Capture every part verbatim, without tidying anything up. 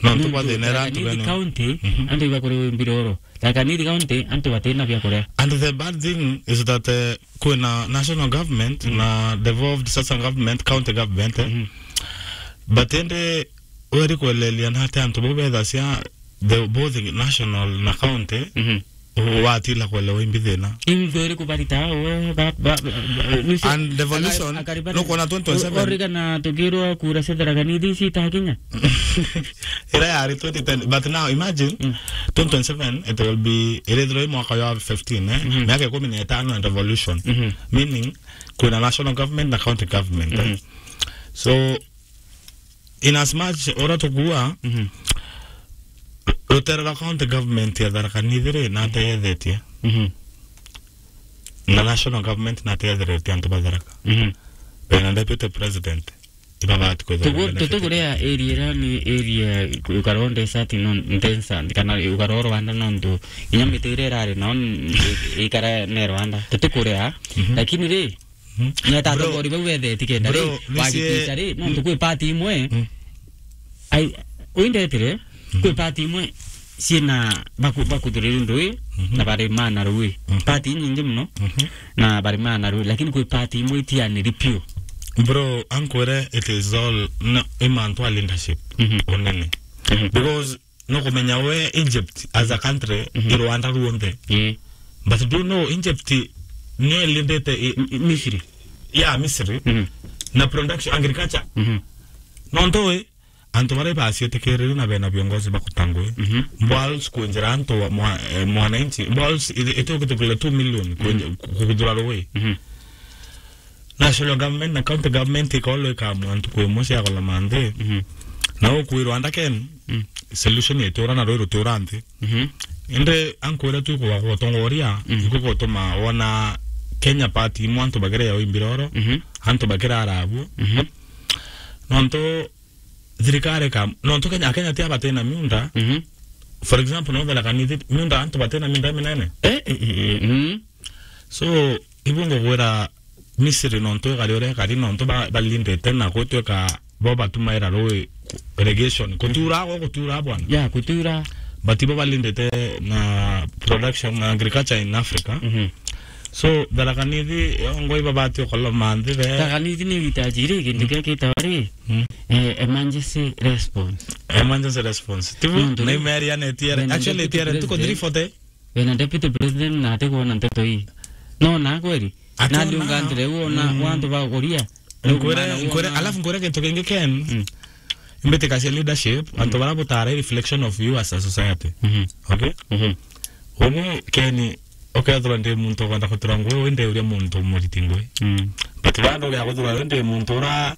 No, nontu twa thina era antu Tharaka Nithi bene. County, Mhm. antu iba kuri mbiroro. Tharaka Nithi County, antu batina bia kuria. And the bad thing is that, eh, kwina national government Mhm. na devolved sasa government, county government, eh. Mhm. But ende weri kwelelia na ati antu bau bethacia the both national na county, Mhm. watila kwelewa imbi thina. Imbi iri kubarita we, ba, ba, ba, ba, nusi-, And devolution, aka-, akari bari-, nukwona twenty twenty-seven. O-, origana tukirwa kura cia Tharaka Nithi ici itakinya. Ira yari twenty ten, but now imagine, Mm. twenty twenty-seven, it will be, irithirwa i mwaka wa fifteen, eh? Mhm. Miaka ikumi na itano and devolution. Mhm. Meaning, kwina national government na county government, eh? Mhm. So, in as much ura tukua, Mhm. rutere rwa county government ya Tharaka Nithi ri, nateyethetie. Mhm. Na national government nateyetheretie antu ba Tharaka. Mhm. Bena deputy president, ibabati kwithirwa Tugu-, bena deputy. Tutuguria area ira ni area ukaroo ndesati no ndensa, kana ukaroo Rwanda nontu inya miti iria irari nao n-, i-, ikara ne Rwanda. Tutukuria, Mhm. lakini ri, Mhm. Nyeta Bro, atongori bau bethetie kenda ri, bro, nisi- wagikisha ri, nontu kwi party imwe, Mm. ai, uindetire, Mm. kwi party imwe ciina baku-, bakuthuriri ndui, Mhm. na bari maana rui. Mhm. Party inyingi muno, Mhm. na bari maana rui, lakini kwi party imwe itianiri piu. Bro, ankwire it is all, no, i mantu a leadership, Mhm. unene. Mhm. Because no kumenya we Egypt as a country, Mhm. i Rwanda ruonthe. Ii. But do you know Egypt niyo ilindite i-, M-, Misri. Yeah, Misri. Mhm. Na production, agriculture. Mhm. Nontu we, antu baria ibacietikirire na bena viongozi bakutangwe. Mhm. Mbwals kwinjira antu wa-, mwa-, eh, mwananchi. Mbwals iti-, iti ukitukile two million kwinji-, Mhm. ku-, kuthura rui. Mhm. National government na county government ikorwa ikamua ntuku imwe cia koloma nthi. Mhm. Na ukwirwa ndaken, Mm. solution itiura na rwi rutiura nthi. Mhm. Indi ankwira tu kwa gutongoria, Mm. iku gutuma wona Kenya party imwe antu bakiria o imbiroro, Mhm. antu bakirara abuo. Mhm. Nontu thirikari ka, nontu Kenya, Kenya ti abatena miunda. Mhm. For example, no Tharaka Nithi, miunda antu batena miunda minene. Eh, eh, eh, eh, mm. So, ibu ngugwira Misri nontu ikari uria ikari, nontu ba-, balindite na gutwika bo batumaira rui irrigation. Kutura, go kutura bwana. Ya, kutura. But ibo balindite na production, na agriculture in Africa. Mhm. So, Tharaka Nithi, yo ngoi babati ukoloma nthi be. Tharaka Nithi ni uhitaji ri, kintu Mm. kia kitawari, Mm. eh, emergency response. Emergency response. Tibu, Nontu na ri, imeri ya netiere. Actually, deputy netiere, tuko president. Three forty. Wena deputy president na atikwona nteto ii. No na kweli? Ationa. Na ndiungantire wona Mm. wantu baguria. Nkure, Maana nkure, wona alafu nkure kintu kingi Ken. Mm. Imbitikacia leadership, antu Mm. bara butara i reflection of you as a society. Mhm. Okay? Mhm. Ugu Ken, ukethirwa ndi muntu ukwenda kutura ngui, wi ndeuria muntu muriti ngui. Mm. But bado uria kuthirwa ndi muntu ura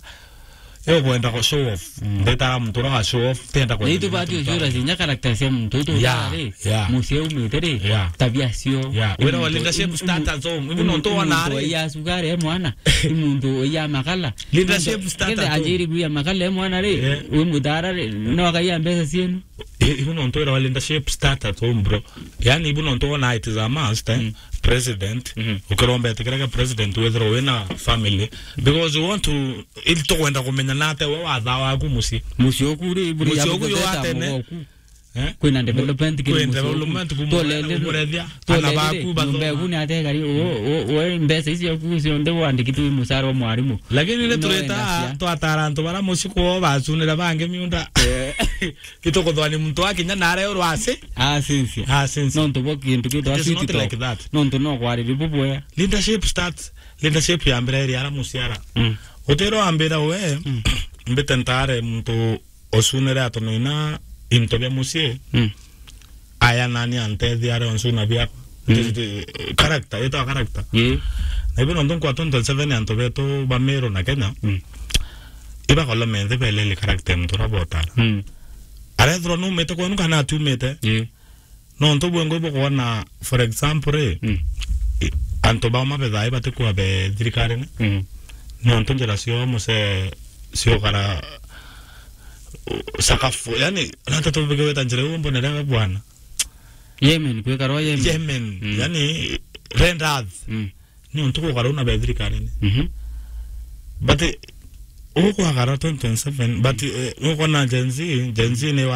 Yo kwenda ku show off. Mm. Ndetaga muntu ura wa show off, tenda kwenda Ni tubati uciura cinya character cia muntu utu Yeah, utari, yeah. Mucii umite ri, Yeah. tabia cio. Yeah. Wira wa Muntu, leadership im-, im-, starters home. Ibu im-, nontu wona muntu ari. Iya sukari e mwana. Imuntu iya makala. Leadership Muntu, starters kende home. Ajiri kuya makala e mwana ri, Yeah. wi mutara ri, no akaiya mbeca cienu. I-, ibu nontu wira wa leadership starters home, bro. Yani, ibu nontu wona it is a must, eh? Mm. President, Mhm. ukiromba etikira kia president withirwa wina family. Because we want to, ili tukwenda kumenya nate we wathaa waku mucii. Mucii oku ri, buri Mucii ya oku yo guteta atene. Mugo oku. Eh? Kwina development kiri Kwina mucii oku. Development kumurethia, Tolele ri, umurethia, tolele ana baku ri, nyumba bathoma. Eku ni ategari, o, o, o, mbeca icio oku cionthe wandikitwe mucara wa mwarimu. Lakini ni No tureta, wenda cia. Twatara antu bara mucii kwao bacunira bangi miunda. Eh. Itukuthwa ni muntu akinya na areurwa aci. Acinci. Acinci. Nontu bo kintu gitwa It is not city talk. Like that. Nontu no kwariri bubwea. Leadership starts, leadership ya mbere iri ara muciara. Mm. Utiro ambira we, Mm. mbite ntare muntu ucunire atonoina into bia mucii. Mm. Aya nani antethia are uncuna biakwa. Mm. This is the character, itawa character. Yeah. Na ibu nontu nkwa twenty twenty-seven antu betu ba Meru na Kenya. Mm. Ibakolome nthi belele character ya muntu uria botara. Mm. Arethirwa numite kwenu kana atumite. Ii. Nontu bwengo ibukwona, for example, ri, Mm. i-, antu bauma bethaa ibatikua be thirikarine. Mm. Nontu njira cio mucii ciukara, uh, sakafu. Yani, nata tubike wita njira iu mbonere we bwana. Yemen, kwikarwa Yemen. Yemen. Mm. Yani, red earth. Mm. Ni untu gukara una be thirikarine. Mhm. But, eh, ukwagara twenty twenty-seven, but, eh, ukwona Gen Z, Gen Z ni wa